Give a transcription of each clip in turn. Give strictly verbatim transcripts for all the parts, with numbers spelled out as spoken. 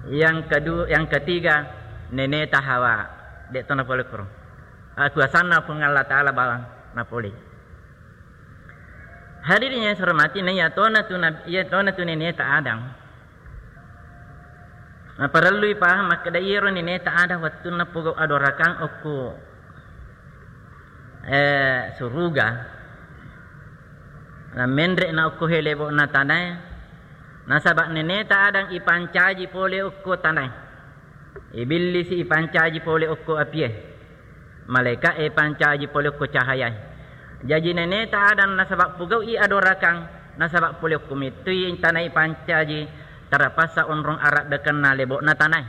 Yang kedua, yang ketiga, neneta Hawa. De'to napole koro. Akuasanna Puang Allah Ta'ala bawang napole. Hadirin yang saya hormati, na iya tona tu nab-, iya tona tu neneta Adam. Naparellui paham makkeda iyaro neneta Adam wettunna pogau adorakang okko, eh, suruga. Namenre na okko helebo'na tanae. Nasaba neneta Adam ipancaji pole okko tanae. Ibillisi ipancaji pole okko apie. Malaeka'e ipancaji pole okko cahayae. Jaji neneta Adam nasaba pugau'i adorakang, nasaba pole okko mettui tanae ipancaji, tarapassa onrong araddekenna lebo'na tanae.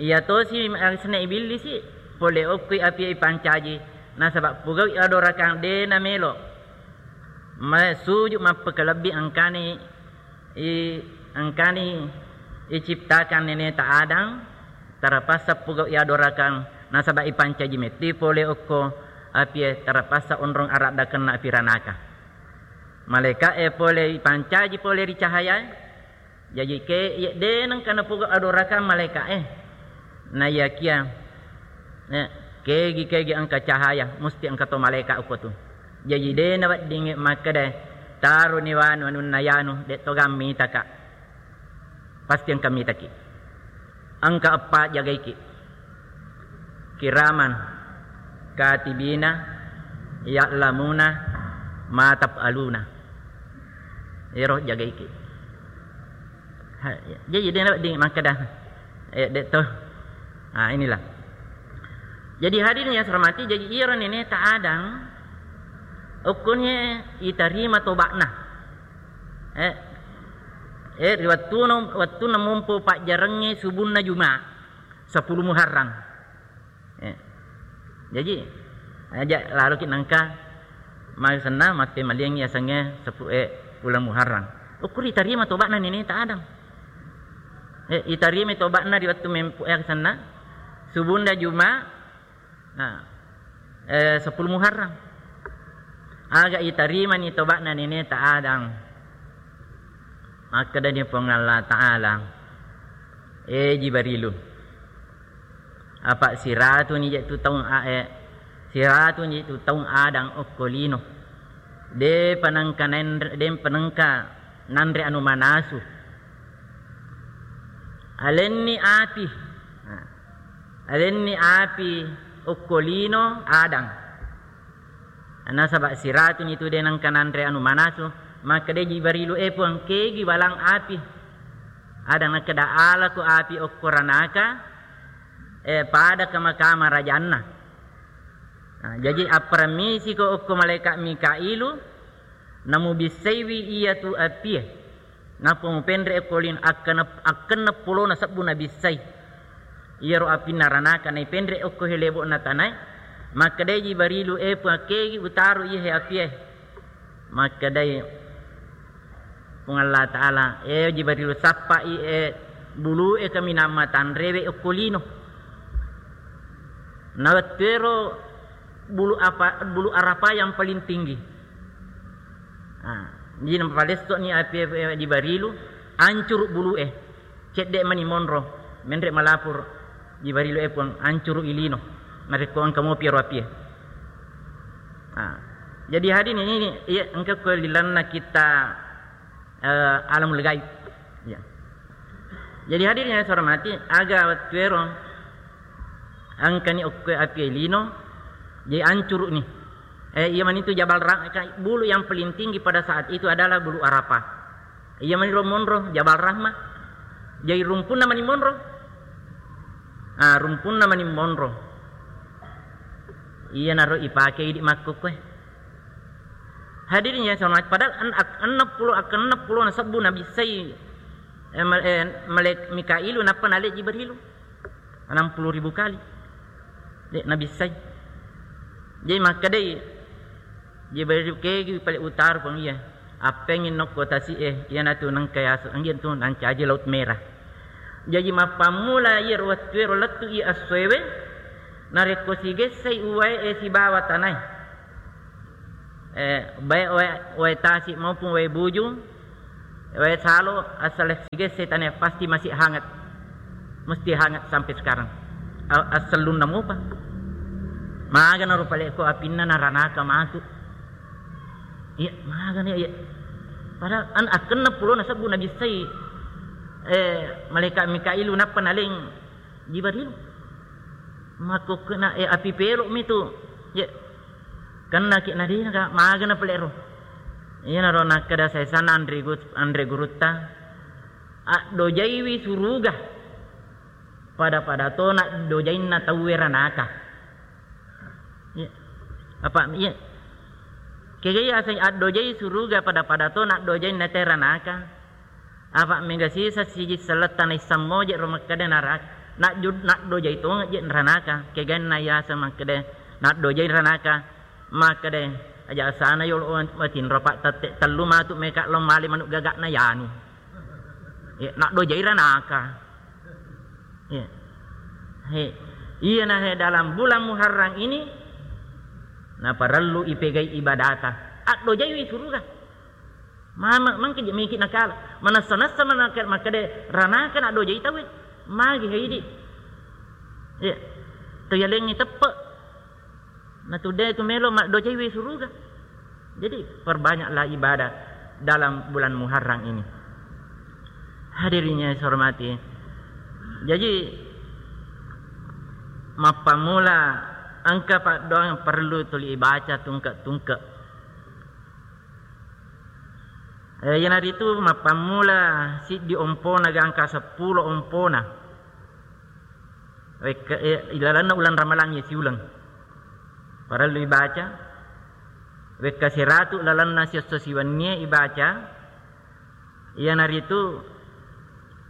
Iya tosi asenna ibillisi pole okkoi apie ipancaji, nasaba pugau'i adorakang de namelo. Ma-, suju mappekalebbi engkani I-, engkani iciptakan neneta Adam, tarapassa pugau iadorakang, nasaba ipancaji metti pole okko apie, tarapassa onrong araddakenna api ranaka. Malaeka'e pole ipancaji pole ri cahayae, jaji ke, ye, de nengka napugau adorakang malaeka'e. Naiyakia, eh, kegi-kegi engka cahaya, musti engka to malaeka okko tu. Jaji de naweddingngi makkeda, "Taroni wanu anunna yanu, de to gammita ka." Pasti engka mitaki. Engka eppa jagaiki. Kiraman, katibina, ya'lamuna, ma taf'aluna. Ero jagaiki. Ha, jaji de nawedding makkeda, eh, de to. Ah, inilah. Jadi hadirin yang saya hormati, jadi iyaro neneta Adam, okkonye itarima toba'na. Eh, eh, ri wettuno, wettunna mompo pajjarengnge subunna Juma, sepuluh Muharram. Eh, jaji, aja laroki nengka masenna matte maliang yasengnge sepu-, eh, uleng Muharram. Okko ritarima toba'na neneta Adam. Eh, itarima toba'na ri wettu mempu-, eh, senna subunna Juma, nah, eh, sepuluh Muharram. Aga itarimani toba'na neneta Adam. Makkedani Puang Allah Ta'ala, "Eh, Jibarilu, apa siratuni je tu taung a-, eh, siratuni je tu taung Adam okko lino. De panengka nanre-, de panengka nanre anu manasu. Alenni api." Nah, alenni api okko lino Adam. Nasaba siratuni tu de nengka nanre anu manasu, makkeda Jibarilu, "Eh Puang, kegi balang api?" Ada nakkeda, "Alako api okko ranaka, eh, pada kama-kama rajanna." Nah, jaji apparamisiko okko malaeka Mikailu, namubissaiwi iyatu apie. Nappa mupenre okko lino, akkana-, akkenna pulona sebbu nabissai. Iyaro apinna ranaka naipenre okko helebo'na tanae. Makkedai Jibarilu, "Eh, Puang, kegi utaro iye he apie?" Makkedai Puang Allah Ta'ala, "Eh, Jibarilu, sappai, eh, bulu'e kaminang matanrewe okko lino." Nawettuero bulu apa, bulu Arafah yang paling tinggi. Ah, jadi napalesso'ni apie, eh, Jibarilu, ancuru bulu'e. Cedde mani monro, menre malapur Jibarilu, "Eh Puang, ancuru ilino. Narekko engka mopi ero apie." Ah, jadi hadirin ini, iya, engka ko lilanna kita, eh, alamul gaib. Ya. Jadi hadirin yang saya hormati, aga wettuero engkani okko apie lino, jadi ancuru'ni. Eh, iya manitu Jabal Ra-, ka-, bulu yang paling tinggi pada saat itu adalah bulu Arafah. Iya maniro monro, Jabal Rahmah. Jadi rumpunna mani monro. Ah, rumpunna mani monro. Iyanaro ipake idi makkukkoe. Hadirin yang saya hormati, padahal en-, ak-, enneng pulo, ak-, enneng pulo na sebbu nabissai, eh, mal-, eh, malek-, Mikailu nappa nale Jibrilu. Enam puluh ribu kali. De nabissai. Jadi makkedai Jibrilu, "Kegi pale utaro Puang iya. Appengngi nokko tasi'e, iyanatu nengka yasu, anggi tu nancaji Laut Merah." Jaji mappammula iyaro wettuero lettu i essoewe, narekko sigessai uwae, eh, sibawa tanae. Eh, baik wae, wae tasi maupun wae buju, Wae salo, asal siga setane pasti masih hangat. Mesti hangat sampai sekarang. A-, assellunna mupa. Magana ro pale ko apinna naranaka matu. Iya, magana iya. Padahal an-, akkenna pulona sebbu nabissai, eh, malaikat Mikailu nappa naleng Jibril. Makkukkena, eh, api pelo mi tu. Iya. Kennaki nadina ka magana pale ro. Iyanaro nakkeda saisana anre gu-, anre gurutta. Addojaiwi suruga pada-pada to naddojainna tauwe ranaka. Iya. Apa, iya. Kega iya asai addojai suruga pada-pada to naddojainna te ranaka. Apa mega sisa siji selletta naissammoje ro makkeda narak-, najju-, naddojai tongeng je ranaka. Kegainna yaseng makkeda naddojai ranaka. Makkeda, aja asana yolo matinro, Pak, tette tellu matu meka lo male manuk gagakna yanu. Eh, naddojai ranaka. Eh. He. Iyana he dalam bulan Muharram ini naparellu ipegai ibadata. Addojaiwi suruga. Mama, mangke je miki nakala. Manessa-nessa manaka-, makkeda ranaka naddojai tauwe. Magi he idi. Eh. To yalengngi teppe. Natuddé tu melo maddojaiwi suruga. Jadi, perbanyaklah ibadah dalam bulan Muharram ini. Hadirin yang saya hormati. Jadi, mappammula engka paddoang perlu tuli ibaca tungke-tungke. Eh, iyanaritu mappammula siddi ompona gangka seppulo ompona. Wekka, eh, ilalenna uleng Ramalang iya siuleng. Parellu ibaca. Wekka siratu lalenna siesso siwennie ibaca. Iyanaritu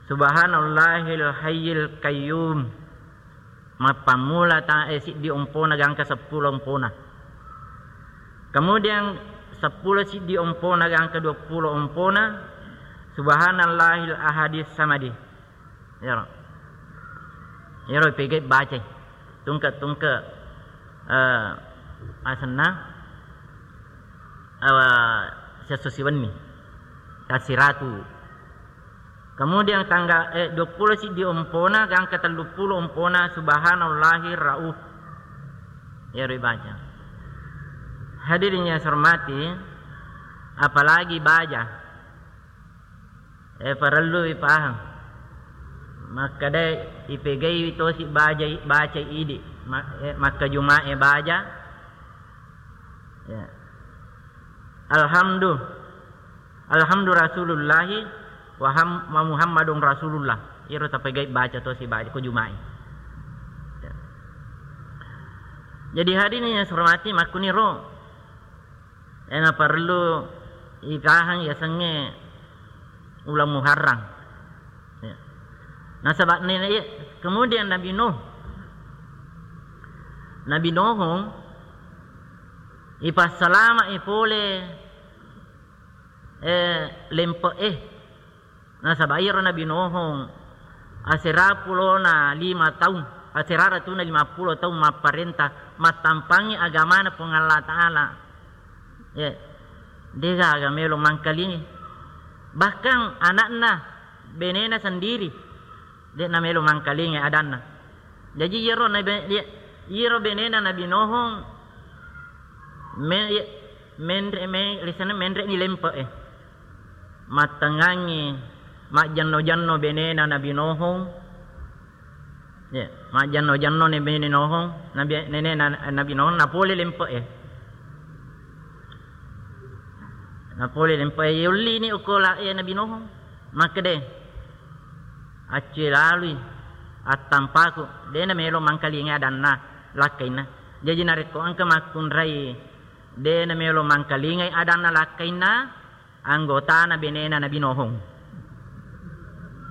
Subhanallahil Hayyil Qayyum. Mappammula ta-, eh, siddi ompona gangka seppulo ompona. Kemudian seppulo siddi ompona gangka duappulo ompona Subhanallahil Ahadis Samadi. Iyaro. Iyaro pegei bacai. Tungke-tungke, eh, asenna, eh, siesso siwenni. Kasiratu. Kemudian tanggal, eh, duappulo siddi ompona, gangka telluppulo ompona, Subhanallahir Rauf. Iyaro ibaca. Hadirin yang saya hormati, apalagi baja. Eh, parellu ipahang. Makkeda ipegaiwi tosi bajai, bacai idi. Ma-, eh, makkajumae baja. Ya. Alhamdu. Alhamdu Rasulullahi wa ham-, wa Muhammadun Rasulullah. Iro tapegai baca tosi baca ko jumae. Ya. Jadi hadirin yang saya hormati, makkuniro Ena parellu ikahang yasengnge uleng Muharram. Ya. Nasaba nene-, kemudian Nabi Nuh, Nabi Nuhung ipassalama'i pole, eh, lempe'e. Nasaba iyaro Nabi Nuhung asera pulona lima taung, asera ratuna lima pulo taung mapparenta, mattampangngi agamana Puang Allah Ta'ala. Ye, degaga melo mangkalingi. Bahkan anakna, benena sendiri, de'na melo mangkalingi adanna. Jaji iyaro nabe-, iya-, iyaro benena Nabi Nuhung me-, iya-, menre-, me-, lisanna menre'ni lempe'e. Mattengngangngi majjenno-jenno benena Nabi Nuhung. Ya, majjenno-jenno ne bene Nuhung, Nabi, nenena Nabi Nuhung, napole lempe'e. Napole lempe'e, yollini uko la-, e, Nabi Nuhung. Makkede, accue lalui attampaku, de namelo mangkalingai adanna lakkainna. Jaji narekko engka makkunrai de namelo mangkalingai adanna lakkainna, anggotana benena Nabi Nuhung.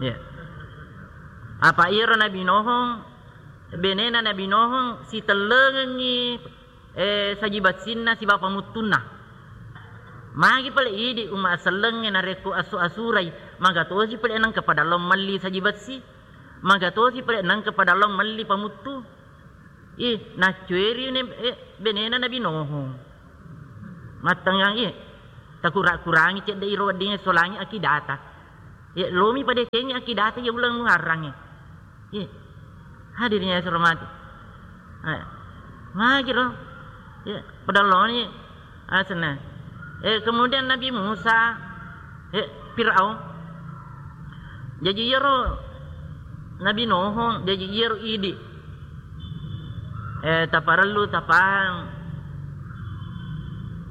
Ya. Apa iyaro Nabi Nuhung, benena Nabi Nuhung sitellengengngi, eh, saji bassinna sibawa pamuttunna. Magi pale idi umma asellengnge narekko asu-asurai, magatosi pale nengka pada lao melli saji bassi, magatosi pale nengka pada lao melli pamuttu. Ih, naccueri ne, eh, benena Nabi Nuhung. Mattengngang, ih. Takura-kurangi cedde iro weddingnge solangi akidata. Ye, lomi padecengi akidata ye uleng Muharrangnge. Ye. Hadirin yang saya hormati. Eh, magi ro. Ye, pada loni asenna. Eh, kemudian Nabi Musa, eh, Firaun. Jaji iyaro Nabi Nuh, jaji iyaro idi. Eh, taparellu tapahang.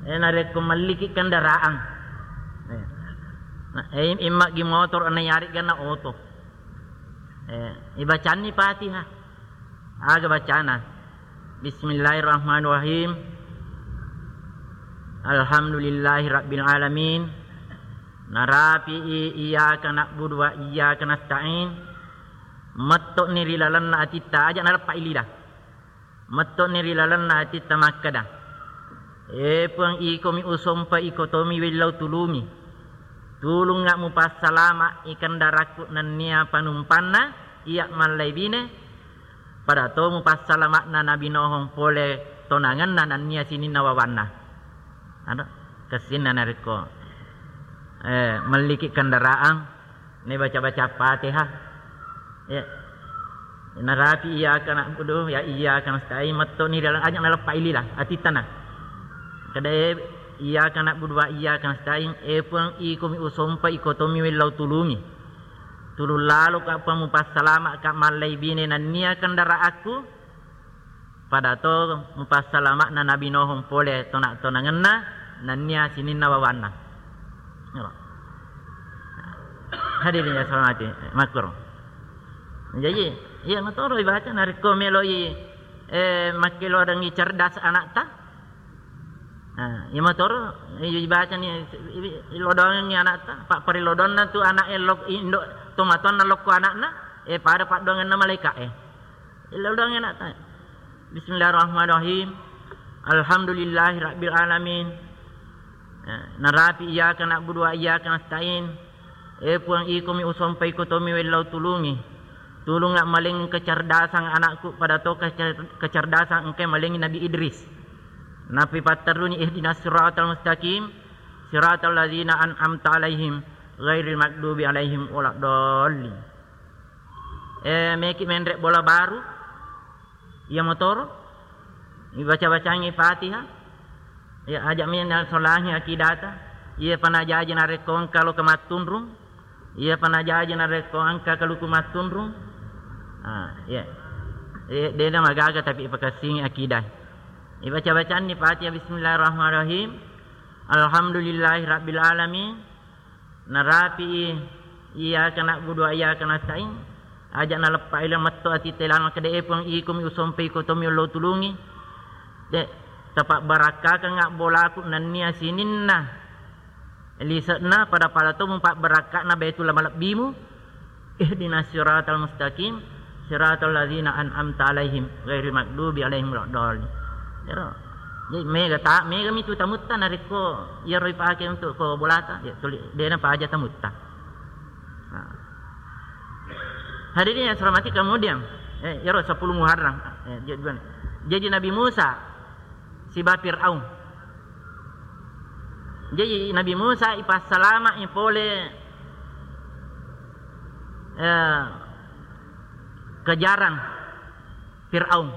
Eh, narekko melliki kendaraan. Eh. Nah, eh, immaggi motor na yaregga na oto. Eh, ibacanni Fatihah. Aga bacana? Bismillahirrahmanirrahim. Alhamdulillahi rabbil alamin. Narapi'i iyyaka na'budu wa iyyaka nasta'in. Metto'ni ri lalenna atitta, aja naleppa'i lida. Metto'ni ri lalenna atitta makkeda, "E Puang, ikomi usompa, iko tomi wellau tulungi. Tulungnga mupassalama'i kendarakku nennia panumpanna, iya mallaibine, pada to mupassalama'na Nabi Nuh pole tonangenna nennia sininna wawanna." Ado, kessinna narekko, eh, melliki kendaraan, ne baca-baca Fatihah. Ya. Narapi iyyaka na'budu, ya iyyaka nasta'in, metto'ni ri lalenna, aja naleppa'i lila atittana. Kada e, iyyaka na'budu wa iyyaka nasta'in, e Puang, ikomi usompa, iko tomi wellau tulungi. Tulung laloka pa mupassalama'ka mallaibine nennia kendaraanku, pada to mupassalama'na Nabi Nuh pole tona-, tonangenna nennia sininna wawanna. Ero. Hadirin yang saya hormati, makkuro. Jaji, iya matoro ibaca narekko meloi, eh, makkelodangi cerdas anakta. Nah, iya matoro, iya ibacani, ilodongengi anakta, pa-, parilodonna tu anak e lok-, indo tomatoanna lokko anakna, eh, pada paddoangenna malaika e. Ilodongengi anakta. Bismillahirrahmanirrahim. Alhamdulillahi rabbil alamin. Eh, narapi iyyaka na'budu wa iyyaka nasta'in. E Puang, ikomi usompa, iko tomi wellau tulungi. Tulungnga maleng kecerdasan anakku pada to kecer-, kecerdasan engka malengi Nabi Idris. Nappi patteruni ihdinas siratal mustaqim, siratal ladzina an'amta alaihim, ghairil maghdubi alaihim waladdallin. Eh, meki menre bola baru, iya motoro, ibaca-bacangi Fatihah, ya, aja mi nasolangi akidata, iya panajaji narekko engka lo kemattunrung, iya panajaji narekko engka kaluku mattunrung. Ah, iya. Eh, dena magaga tapi ipakessingi akidah. Ibaca-bacanni Fatihah, Bismillahirrahmanirrahim. Alhamdulillahi rabbil alamin. Narapi'i, iyyaka na'budu wa iyyaka nasta'in. Aja naleppa'i la metto atitta lalo makkeda, e Puang, ikomi usompa, iko tomi wellau tulungi. De, tapabbarakkakeng abbolaku nennia sininna lise'na pada-pada to mupabbarakka'na Baitullah malebbimu. Ihdinas siratal mustaqim, siratal ladzina an'amta alaihim, ghairil maghdubi alaihim waladdallin. Ero. Jadi mega ta-, mega mitu tamutta narekko iyaro ipake untuk ko bolata, ya tuli dena paja tamutta. Nah. Hadirin yang saya hormati, kemudian, eh, iyaro sepuluh Muharram, eh, jadi, jadi Nabi Musa siba Fir'aun. Jadi Nabi Musa ipassalama'i pole, eh, kejaran Fir'aun.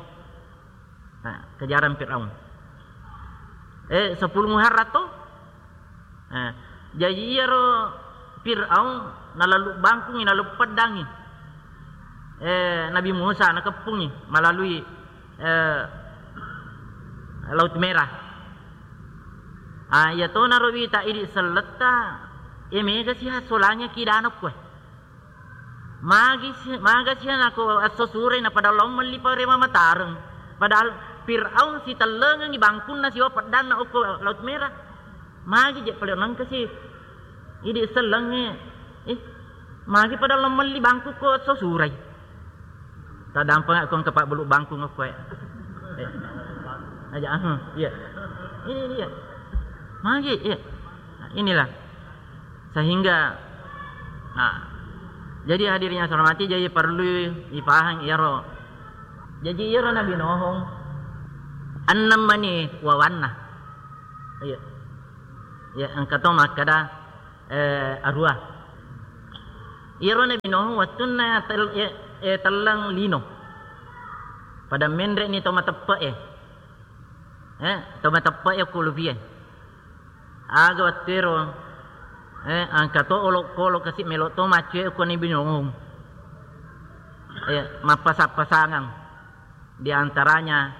Nah, kejaran Fir'aun. Eh, sepuluh Muharram to? Eh, jaji iyaro Fir'aun nalalu bangkungi, nalalu peddangi, eh, Nabi Musa, nakeppungi malalui, eh, Laut Merah. Ah, iya tonaro wita idi selletta, eh, mega siha solangi kidana koe. Magi si-, maga sia nako esso surai na padahal lao melli parewa matareng. Padahal Fir'aun sitellengengi bangkunna siwa peddanna okko Laut Merah. Magi je pale nengka si idi sellengnge. Eh, magi padahal lao melli bangku ko esso surai. Tadampeng ko engka pabbulu bangkung okko e. Eh. Aja, ah, iya. Ini dia. Magi, iya. Inilah. Sehingga, nah, jadi hadirin yang saya hormati, jadi perlu dipaham iyaro. Jadi iyaro Nabi Nuh, ennem mani wawanna. Iya. Ya, engka to makkeda, eh, aruwa. Iyaro Nabi Nuh wettunna tel-, eh, eh, telleng lino. Pada menre'ni to mateppe'e. Eh, to mateppe'e ko lupie. Aga wettuero, eh, engka to olokolo kasi melo to maccue ko Nabi Nuh. Eh, mappasang-pasangang. Di antaranya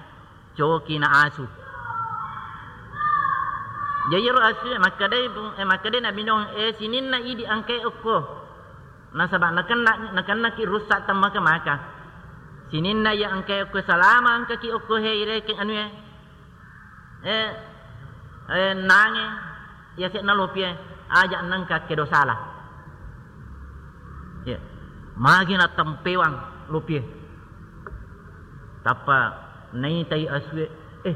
coki na asu. Jaji ro asu e, makkedai, eh, makkedai Nabi Nuh, eh, sininna idi engkae okko. Nasaba nakenna, nakennaki rusak temmaka-maka. Sininna iya engkae okko salama engkaki okko he irekeng anu e. Eh, eh, nange, iya sekna lopie, aja nengka kedo sala. Ya. Magi na tempewang lopie. Tappa naitai asue, eh,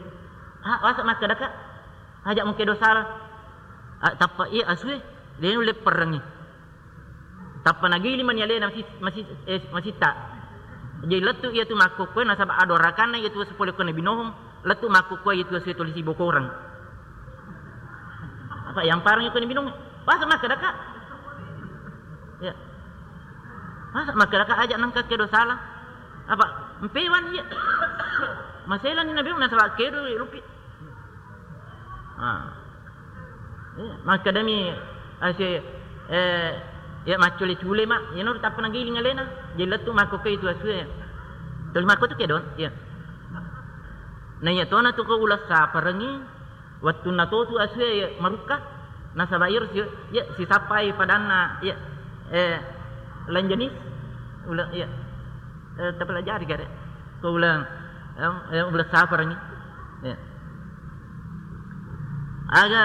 ha, masa makkeda ka? Aja mengkedo sala. Ah, tappa iya asue, de nulle perrengi. Tappa nagiling mani alena masi-, masi-, eh, masitta. Jadi lettu iyatu makkokkoe nasaba adorakanna iyatu sepole ko Nabi Nuh, lettu makkokkoe iyatu asue tuli sibokoreng. Apa yang parang ko Nabi Nuh? Masa makkeda ka? Ya. Masa makkeda ka aja nengka kedo sala? Apa? Mpewan iya. Maselani Nabi Nuh nasaba kedo lupi. Ah. Iya, makkedami ase, eh, ya maccule-cule ma, iyano tappa nagiling alena, je lettu makkokkoe itu asue. Tuli makko tu kedo, iya. Na iya tona tu ko uleng saparengi, wettunna to tu asue, ya, marukka, nasaba iyaro si, ya, sisappai padanna, ya, eh, lain jenis, uleng, ya. Eh, tapelajari gare. Ko uleng, em, eh, uleng saparengi. Ya. Aga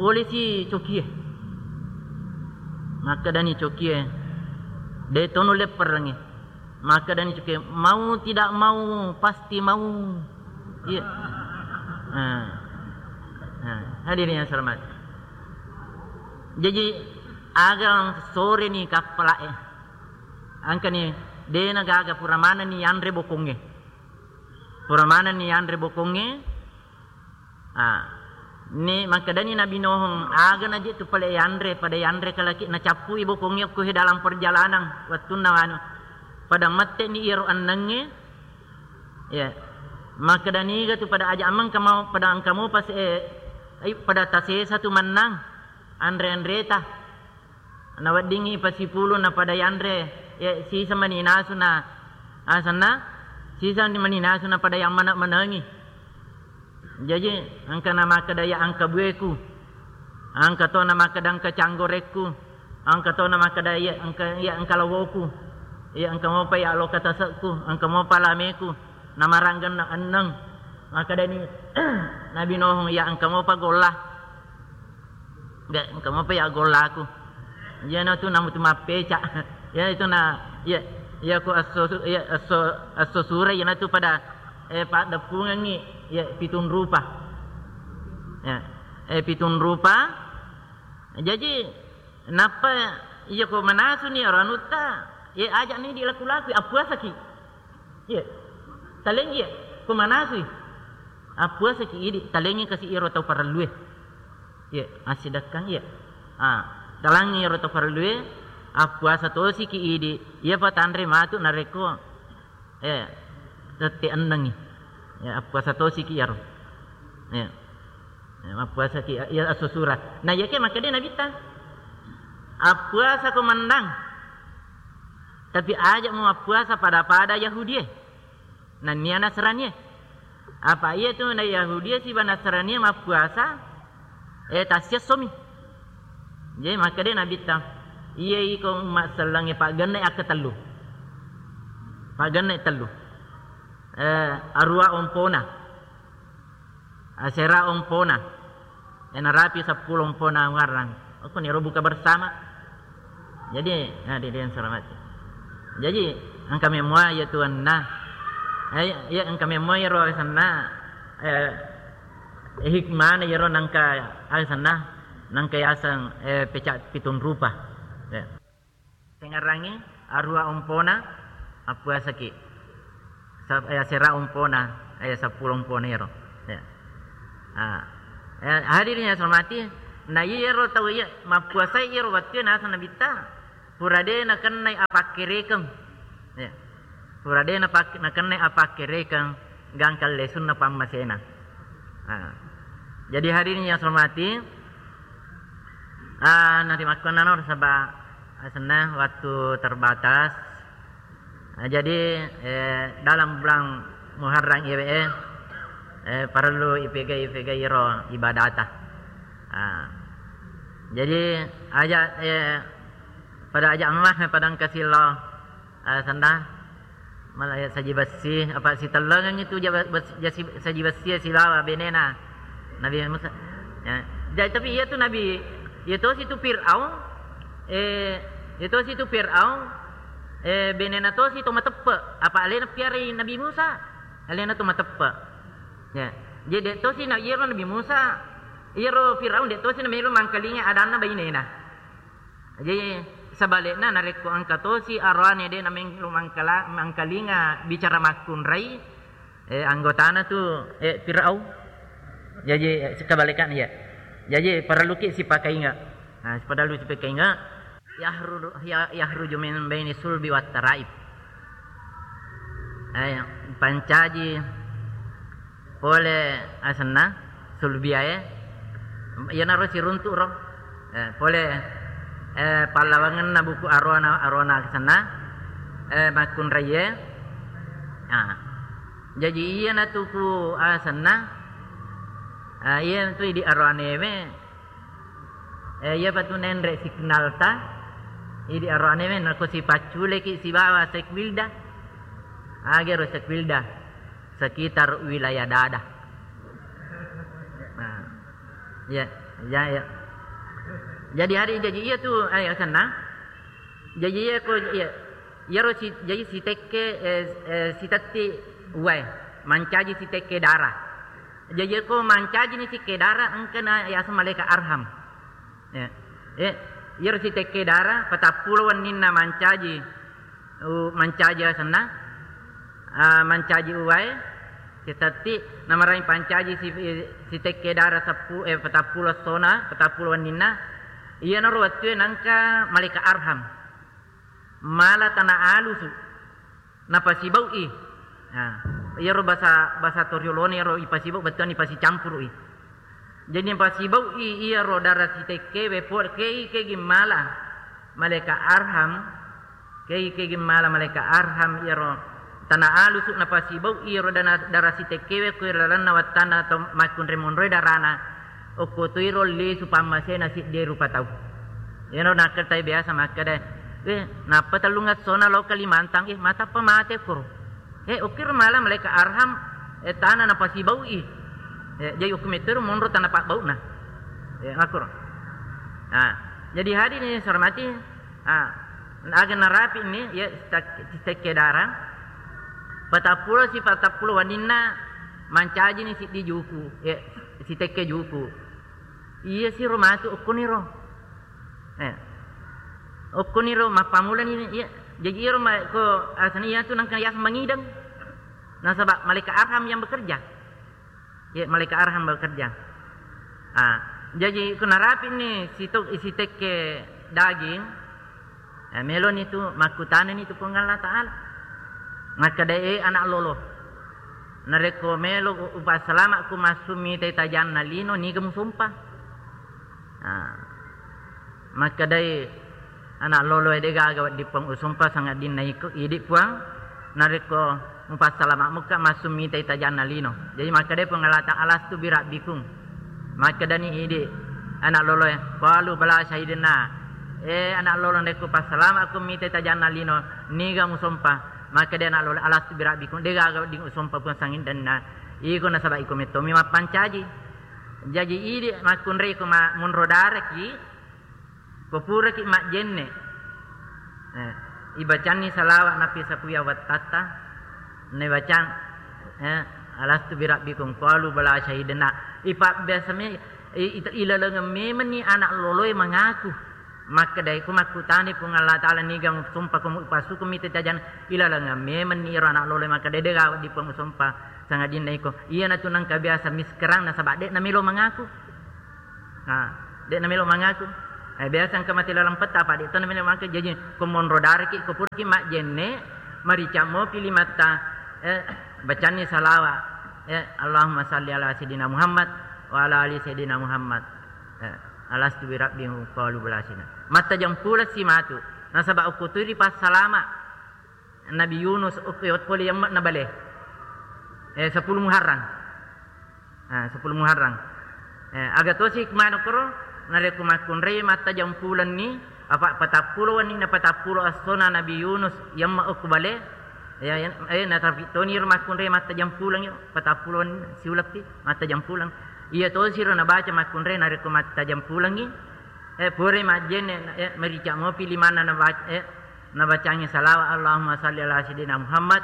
polisi cokie. Makkedani cokie, de tono lepperengi. Makkedani cokie, mau tidak mau pasti mau. Iya. Nah. Nah, hadirin yang selamat. Jadi aga sore ni kappala e. Engkani, de na gaga pura manenni yanre bokongnge. Pura manenni yanre bokongnge. Ah, ni makkedani Nabi Nuh, aga naje tu pale yanre, pada yanre kalaki nacappui bokongnge ko he dalam perjalanan wettunna anu. Pada mette'ni iyaro ennengnge. Ya. Makkedani ga tu pada aja ameng kamau pada engka mopa se-, eh, pada tasesa tu mennang anre-anreta. Naweddingngi pasipulung napada yanre, ya, siseng mani nasu na asenna, siseng mani nasu napada yang mana-manangi. Jaji, engka namakkeda ya engka bueku, engka to namakkeda engka canggorekku, engka to namakkeda ya engka, ya engka lawoku, ya engka mopa ya loka tasekku, engka mopa lameku, namaranggenna enneng. Makkedani Nabi Nuh, ya engka mopa golla. Ga, engka mopa ya gollaku. Iyana tu namu tu mappeca. Ya itu na, ya, ya ko esso su-, ya esso, esso sura iyana tu pada, eh, paddeppungengngi, ya, pitung rupa. Ya, eh, pitung rupa. Jaji, nappa iya ko manasuni ero anutta, ya, aja'ni idi laku-laku, appuasaki. Iya. Taleng iya, ko manasui. Appuasaki idi, talengngi kasi iyaro tau parellue. Iya, assidekkang iya. Ah, talengngi iyaro tau parellue, appuasa tosiki idi, iyapa tanre matu narekko, eh, tette ennengngi. Ya, appuasa tosiki iyaro. Iya. Ya, mappuasaki iya esso sura. Nah, iyake makkeda Nabitta, appuasa ko mennang. Tapi aja mu mappuasa pada-pada Yahudie. Nennia Nasranie. Apa iya tu na Yahudie siba Nasranie mappuasa, eh, tassiessomi. Jadi makkeda Nabitta, iya iko umma sellengnge paggenna akka tellu. Paggenna tellu. Eh, arua ompona. Asera ompona. Eh, narapi seppulo ompona ngarrang. Okko niro buka bersama. Jadi, nah, di, di, selamat. Jadi, engka memua iya tuanna. Eh, iya, engka memua iyaro asenna. Eh, hikmana iyaro nangka asenna. Nangka yaseng, eh, peca pitung rupa. Ya. Tengarangi arua ompona, appuasaki. Sa-, eh, asera ompona, eh, seppulo ompona ero. Ya. Ah. Eh, hadirin yang saya hormati, Na iyaro tau iya mappuasai iyaro wettue naseng Nabitta, pura de nakennai apakkerekeng. Ya. Pura de napak-, nakennai apakkerekeng, gangka lesunna pammasena. Ah. Jadi hadirin yang saya hormati, ah, narimakkuannano saba asenna waktu terbatas. Ah, jadi, eh, dalam bulan Muharram iyewe, eh, parellu ipegai-pegai ro ibadata. Ah. Jadi, aja, eh, pada aja emah, pada engka sillo, eh, senda, malah ya saji bessi, apa sitellengengngi tu jaba-, bes-, jasi-, saji bessi silawa benena Nabi Musa. Ya. Jadi, tapi iya tu Nabi, iya tosi tu Fir'aun, eh, iya tosi tu Fir'aun, eh, benena tosi to mateppe, apa alena piarai Nabi Musa, alena to mateppe. Ya. Jadi, de tosi na iyaro Nabi Musa, iyaro Fir'aun de tosi na melo mangkalinga adanna bainena. Jadi, sebalikna, narekko engka tosi aroane de nameng-, mangkala-, mangkalinga bicara makkunrai, eh, anggotana tu, eh, Fir'aun. Jadi, eh, kebalikan, iya. Jadi, parelluki sipakainga. Nah, parellu sipakainga. Yahru-, ya-, yahruju min baini sulbi wattaraib. Eh, pancaji pole asenna sulbiae, iyanaro siruntu ro. Eh, pole, eh, pallawangenna buku arona, arona asenna, eh, makkunraie. Ah. Jaji iyanatu ku asenna, ah, iyanatu idi aroanewe, eh, iyapa tu nenre signalta, idi aroanewe nako sipacculeki sibawa Sekwilda. Agero Sekwilda. Sekitar wilayah dada. Nah, iya, iya, iya. Jadi hari, jadi iya tu, ayo senna. Jadi iya ko, iya. Iyaro si, jadi sitekke, eh, eh, sitetti uwae, mancaji sitekke dara. Jadi iya ko mancaji ni sitekke dara, engkana yaseng malaika arham. Ya. Eh, iyaro sitekke dara, patappulo wenninna mancaji, u-, mancaji asenna, ah, mancaji uwae, sitetti, namarai pancaji si-, sitekke dara seppu-, eh, patappulo essona, patappulo wenninna, iyanaro wettue nangka malaika arham. Mala tana alusu. Napasibau'i. Nah, iyaro basa, basa toriolona iyaro ipasibau bettuanna ipasicampuru'i. Jadi napasibau'i iyaro dara sitekkewe po-, kei, kegi mala malaika arham, kei, kegi mala malaika arham iyaro tana alusu napasibau'i iyaro dana, dara sitekkewe ko ri lalenna wattanna to makkunrai monroi darana. Okko toiro lisu pammasena siddi rupa tau. Iyaro nakkatai biasa makkeda, "Eh, nappa tellung essona lao Kalimantan, eh, matappa mate koro." Eh, okkiro mala malaika arham, eh, tana napasibau'i. Eh, jadi okko mettoro monro tana pabbau'na. Eh, makkoro. Nah, jadi hadirin yang saya hormati, ah, aga narapi ni, ya, sitekke dara. Patappulo si patappulo waninna mancajini siddi juku, ya, sitekke juku. Iya siro matu okkoniro. Eh. Okkoniro mappamulani, iya. Jaji iyaro ma-, ko asana iyatu nangka yaseng mangideng. Nasaba malaikat Arham yang bekerja. Iya, malaikat Arham bekerja. Ah, jaji ko narapi ni sitok isi tekke daging, eh, meloni tu makkutanani tu Puang Allah Ta'ala. Makkeda, "Eh, anak lolo, narekko melo u-, upassalama' ku massu mitai tajanna lino, niga musompa?" Ah, makkedai anak loloe, "De gaga wedding Puang usompa, sangaddinna iko idi Puang, narekko mupassalama' mukka massu mitai tajanna lino." Jaji makkedai Puang Allah Ta'ala, "Alastu birabbikum." Makkedani idi anak loloe, "Qalu bala syahidna." Eh, anak lolo, narekko passalama' ku mitai tajanna lino, niga musompa? Makkedai anak lolo, "Alastu birabbikum, de gaga wedding usompa Puang, sangaddinna iko, nasaba iko mettomi mappancaji." Jaji idi makkunrai ko ma-, monro daraki, ko puraki majjenne. Eh, ibacanni salawat nappi sapuya wattatta, naibacang, eh, "Alastu birabbikum?" Qalu bala syahidna. Ipabbiasa me-, i-, i-, ilalengeng memenni anak loloe mangaku. Makkedai, ko makkutani Puang Allah Ta'ala, "Niga musompa ko mupassuku mitai tajanna?" Ilalengeng memenni iro anak loloe makkeda, "De gaga wedding Puang usompa, sangaddinna iko." Iyanatu nangka biasa miskerang nasaba de namelo mangaku. Nah, De' namelo mangaku. Eh, biasa engka mate laleng petta, apa de' to namelo mangaku. Jaji, ko monro daraki, ko puraki majjenne, marica mopi limatta, eh, bacanni salawa. Eh, Allahumma salli ala Sayyidina Muhammad wa ala ali Sayyidina Muhammad. Eh, alastu bi rabbihim qalu bala sina. Mattajeng puleng si matu. Nasaba' ukkutui ri passalama Nabi Yunus, okko pole yamme'na bale. Eh, sepuluh Muharram. Ah, sepuluh Muharram. Eh, aga tosi manukro, narekko makkunrai mattajeng pulenni, apa patappulo wenni na patappulo essona Nabi Yunus yemme' okko bale. Ya, ya, eh, natapi toni ro makkunrai mattajeng puleng iro, patappulo wenni siuleppi mattajeng puleng. Iya tosi ro nabaca makkunrai narekko mattajeng pulengngi. Eh, pura majjenne, eh, marica mopi limanna nabac-, eh, nabacangi salawa, Allahumma salli ala Sayyidina Muhammad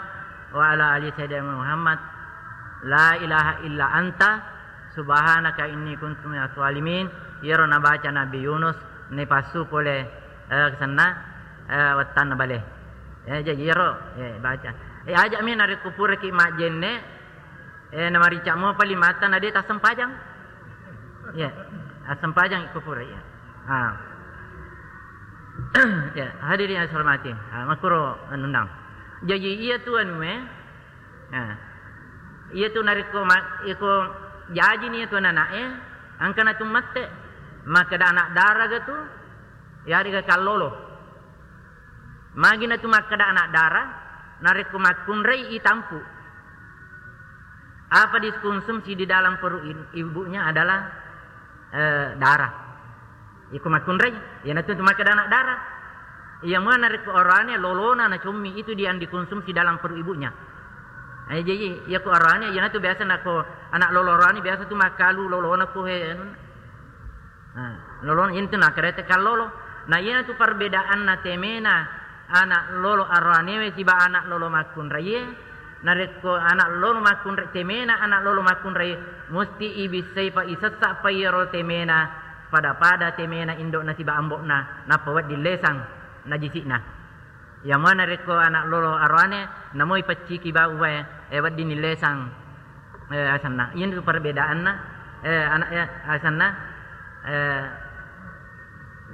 wa ala ali Sayyidina Muhammad. La ilaha illa anta subhanaka inni kuntu minaz zalimin. Iyaro nabaca Nabi Yunus, nipassu pole, eh, senna, eh, wettanna bale. Eh, jaji iyaro, eh, baca. Eh, aja'mi narekko puraki majjenne, Eh, namarica mopa limatta na de' tassempajang. Iya, assempajang iko pura, iya. Ah. Ya, hadirin yang saya hormati. Ah, makuro anunna. Jaji iya tu anu, eh. Ah. Iya tu narekko ma-, iko jaji ni iya tu anana'e, engkana tu mate, makkeda anak daraga tu, ya, riga kallolo. Magi natu makkeda anak dara, narekko makkunrai itampu. Apa dikonsumsi di dalam perut i-, ibunya adalah, eh, darah. Iko makkunrai, iyanatu tu makkeda anak dara. Iya mua narekko oroane lolona nacommi itu dia yang dikonsumsi dalam perut ibunya. Eh, jadi, iya ko oroane, iyanatu biasa nako anak lolo oroane biasa tu makkalu lolona ko he, anu. Nah, lolo intu nakkerete kallolo. Nah, iyanatu perbedaanna temena anak lolo aroanewe siba anak lolo makkunraie. Narekko anak lolo makkunrai, temena anak lolo makkunrai, musti ibissai pa isessa pa iyaro temena pada-pada temena indo'na siba ambo'na, nappa wedding lesang najisi'na. Iya mua narekko anak lolo aroane, namoi pecciki bau wae, eh, wedding nilesang, eh, asenna. Iyanatu perbedaanna, eh, anak, eh, asenna, eh,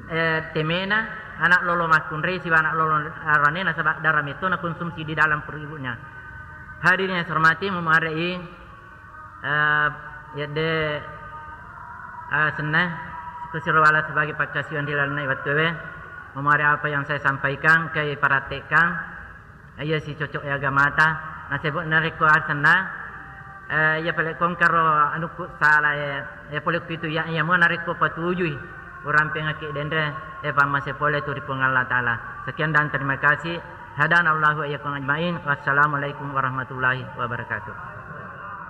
eh, temena anak lolo makkunrai siba anak lolo aroane nasaba dara metto nakonsumsi di dalam perut ibunya. Hadirin yang saya hormati, memarei Eh, yedde, eh, senna, kusiro wala sebagai pakkasiwiang ri lalenna wettuewe. Memari apa yang saya sampaikan, engkai parattekkang, eh, iya si cocok e agamata. Nasebo narekko asenna, eh, iya pale kongkaro anukku sala, eh, iya pole pitu iya, iya mua narekko patujui urampengakki denre, eh, pammase pole tu ri Puang Allah Taala. Sekian dan terima kasih. Hadanallahu wa iyyakum ajmain. Wassalamualaikum warahmatullahi wabarakatuh.